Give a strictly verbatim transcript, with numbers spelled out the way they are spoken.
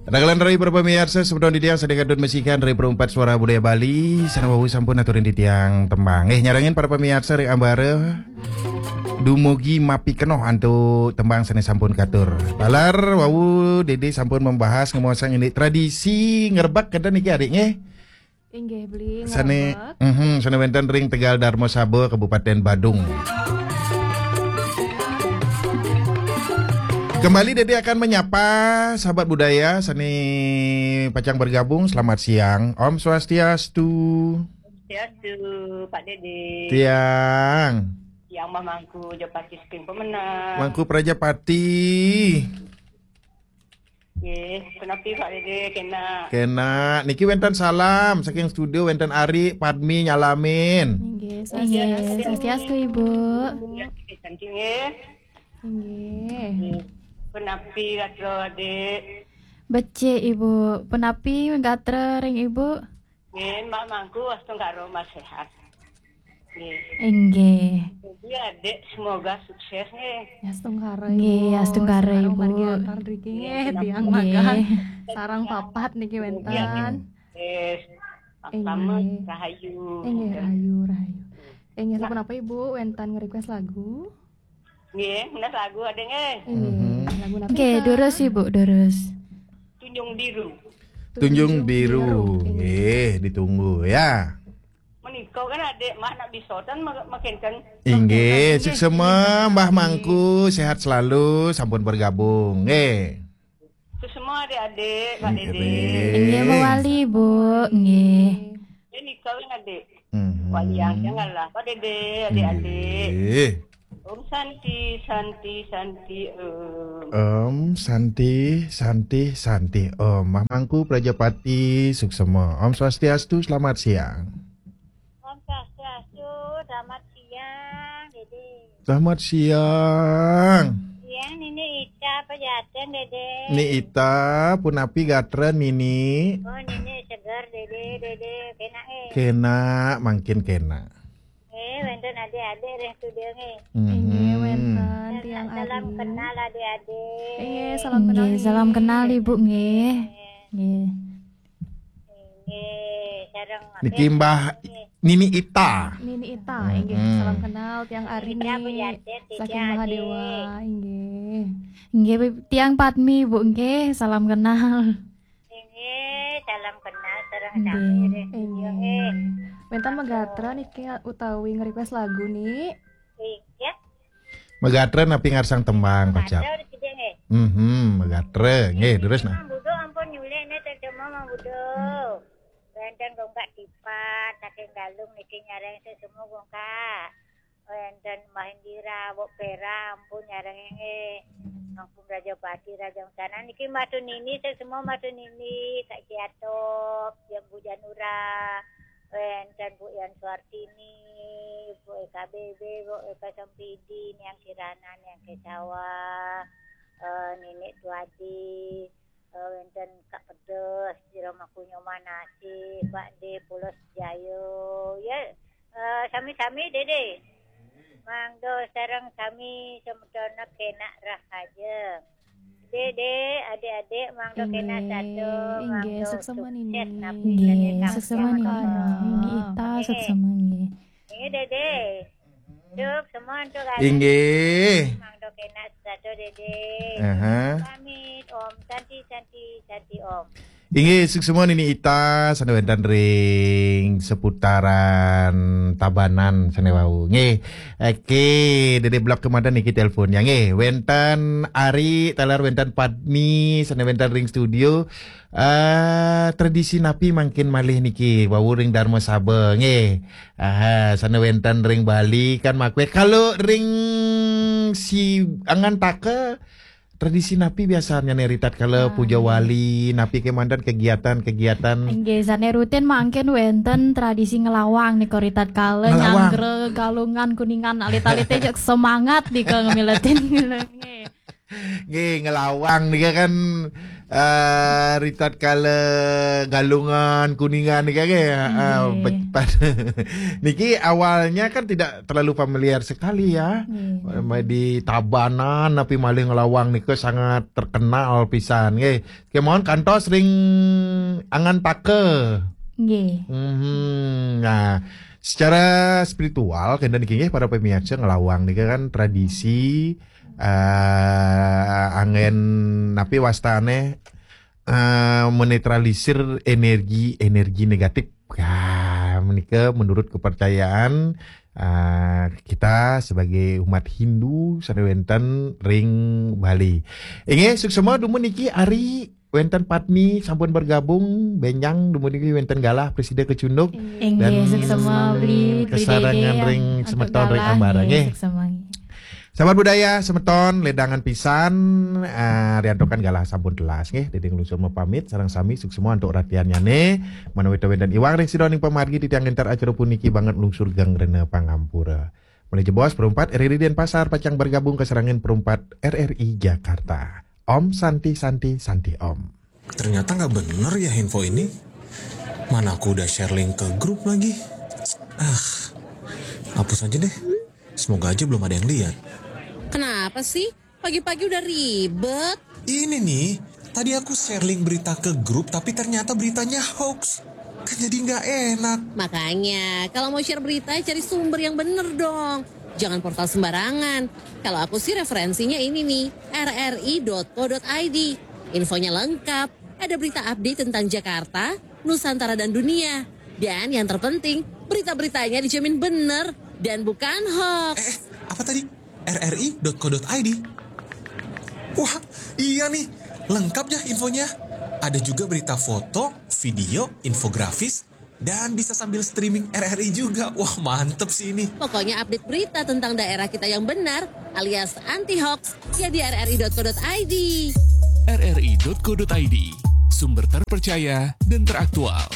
Ragalan rai para pamiarsa, semeton titiang sané kantun masikian rai Perumpat Suara Budaya Bali, sané wau sampun aturin titiang tembang. Eh, nyarengin para pamiarsa ri ambara dumugi mapikenoh antuk tembang sané sampun katur. Taler wau Dédé sampun membahas ngemaosang indik tradisi ngrebek kénten niki adik nggih. Inggih, beli sané, ngrebek. Mhm, sané wénten ring Tegal Darmasaba, Kabupaten Badung. Kembali Dédé akan menyapa sahabat budaya sané pacang bergabung. Selamat siang. Om Swastiastu. Swastiastu, Pak Dédé. Tiang. Tiang Mbah Mangku, Jopati saking Pemenang. Mangku Prajapati. Nggih, punapi Pak Dédé, kénak. Kénak. Niki wénten salam saking studio, wénten Ari, Padmi nyalamin. Inggih, Inggih, swastiastu. Swastiastu, Ibu. Ya, nggih, thank you, nggih. Inggih. Nggih. Punapi gatra, Adik? Becik, Ibu. Punapi gatra ring Ibu? Nggih, Mbah Mangku, astungkara mas sehat. Nggih. Inggih. Jadi, Adik, semoga sukses, nggih. Ya, astungkara, Nggih, Ibu. Astungkara, Astungkara Ibu. Margi Akar niki, Nggih, nggih, tiang nggih. Magang sareng papat niki wénten. Nggih. Selamat Inggih. Rahayu. Inggih, rahayu, rahayu. Inggih, Nah. Sampun apa, Ibu? Wénten nge-request lagu? Nggih, menes lagu Adik, nggih. Inggih, Mhm. Lagu napi, Nggih, Kak? Durus, Ibu, durus. Tunjung Biru. Tunjung Tunjung Biru. Biru. Nggih, ditunggu ya. Menika kan Adik mak nak bisa tan ma-, makinten. Inggih, Inggih. Suksema Mbah Mangku, sehat selalu, sampun bergabung. Nggih. Suksema Adik-adik, Pak Dédé. Inggih. Inggih, mawali, Bu. Nggih. Nggih, nika kan Adik. Mhm. Wayang, janganlah, Pak Dédé, Adik-adik. Nggih. Om Santi, Santi, Santi, Om. Om Santi, Santi, Santi, Om. Mbah Mangku Prajapati, suksema. Om Swastiastu, selamat siang. Om Swastiastu, selamat siang, Dédé. Selamat siang. Siang, Nini Ita, Pejaten, Dédé. Ni Ita, punapi gatra, Nini? Oh, Nini seger, Dédé, Dédé. Kénak, eh. Kénak, mangkin kénak. Eh, wénten adik-adik ring studio nggih. Mhm. Inggih, wénten tiang Salam Ari. Kenal adik-adik. Inggih, salam kenal, Inggih, salam nggih. Kenal, Ibu, nggih. Nggih. Nggih, sareng Niki Mbah nggih. Nini Ita. Nini Ita, inggih. Mm-mm. Salam kenal tiang Ari Ita nggih. Bujate, saking tiga Mahadewa, adik. Inggih. Inggih, tiang Padmi, Bu, nggih. Salam kenal. Inggih, salam kenal sareng Inggih, sami ring studio, inggih. Nggih. Wénten megatra niki utawi nge-request lagu nih. Inggih. Megatra napi ngarsang tembang, kocap. Megatra udah gede, nggih. Mhm, megatra. Nggih, terus nah. Mang Budo ampun nyulik nih, terjemah Mang Budo. Wénten Gongkak Tipat, saking Galung niki nyareng sesemu Gongkak. Wénten Mbah Indira, Wok Pera, ampun nyareng nggih. Mangku Prajapati, Raja Sana niki Matu Nini, sesemu Matu Nini, Kak Ciatop, Yang Bu Janura. Wénten Bu Yan Suartini, Bu Eka Bebe, Bu Eka Sampidi, Niang Kirana, Niang Kesawa, eh, Nenek Tuadi, eh, wénten Kak Pedes, Sira Makunyo Manasi, Pak De Pulos Jayo, ya, eh, sami-sami Dede. Mangdo sareng sami semeton kénak rahaja. Dede, adik-adik, mangdo kénak sato, inggih, mangdo inggih, suksema sukses Nini. Napi inggih, sané suksema Nini. Nini Ita, suksema nggih. Inggih, Dede. Suksema antuk adik. Inggih. Mangdo kénak sato, Dede. Aha. Pamit, Om Santi, Santi, Santi, Om. Inggih, suksema Nini Ita, sané wénten ring seputaran Tabanan sané wau. Nggih. Oke, Dede blok kemanten niki teleponnya. Nggih, wénten Ari, taler wénten Padmi, sané wénten ring studio. Eh, tradisi napi mangkin malih niki, wau ring Darma Saba, nggih. Aha, sané wénten ring Bali kan makwé. Kalau ring si Angantaka, tradisi napi biasanya nih, ritatkala puja wali, napi kémanten kegiatan-kegiatan? Nggih, sané rutin mangkin wénten tradisi ngelawang nika ritatkala nyanggra Galungan Kuningan, alit-alité jeg semangat nika ngemiletin. Nggih. Nggih, ngelawang nika kan Ah, ritatkala Galungan, Kuningan ni kan, eh. Ah, Nggih. Niki awalnya kan tidak terlalu familiar sekali ya. Nggih. Di Tabanan tapi malih ngelawang nika sangat terkenal pisan nggih. Kemawon kantos ring Angan Taka. Nggih. Mhm. Nah, secara spiritual kenten niki nggih para pemirsa, ngelawang nika kan tradisi eh anggen napi wastane, eh menetralisir energi-energi negatif. Ya, menika menurut kepercayaan eh kita sebagai umat Hindu sane wenten ring Bali. Inggih, suksma dumun niki Ari, wenten Padmi sampun bergabung, Benjang dumun niki wenten galah presida kecunduk. Inggih, Dan suksma Bli, Bli kesarengan Dede, ring antuk semeton ring galah, Ambara, nggih, nggih. Suksma, nggih. Sahabat budaya semeton, ledangan pisan, eh, riantukan galah sampun telas nggih. Dede nglungsur mapamit sareng sami, suksma antuk ratiannyane. Manawita wenten iwang ring sida ning pamargi titiang ngenter acara puniki banget nglungsur geng rena pangampura. Malih jebos perempat R R I Denpasar pacang bergabung kesarengan perempat R R I Jakarta. Om Santi Santi Santi Om. Ternyata nggak bener ya info ini. Mana aku udah share link ke grup lagi. Ah, hapus aja deh. Semoga aja belum ada yang lihat. Kenapa sih? Pagi-pagi udah ribet. Ini nih, tadi aku share link berita ke grup tapi ternyata beritanya hoax. Kan jadi nggak enak. Makanya, kalau mau share berita, cari sumber yang bener dong. Jangan portal sembarangan. Kalau aku sih referensinya ini nih, R R I dot co dot I D. Infonya lengkap, ada berita update tentang Jakarta, Nusantara dan dunia. Dan yang terpenting, berita-beritanya dijamin bener dan bukan hoax. Eh, apa tadi? R R I dot co dot I D. Wah, iya nih. Lengkap ya infonya. Ada juga berita foto, video, infografis, dan bisa sambil streaming R R I juga. Wah, mantep sih ini. Pokoknya update berita tentang daerah kita yang benar alias anti hoax ya di R R I dot co dot I D. R R I dot co dot I D, sumber terpercaya dan teraktual.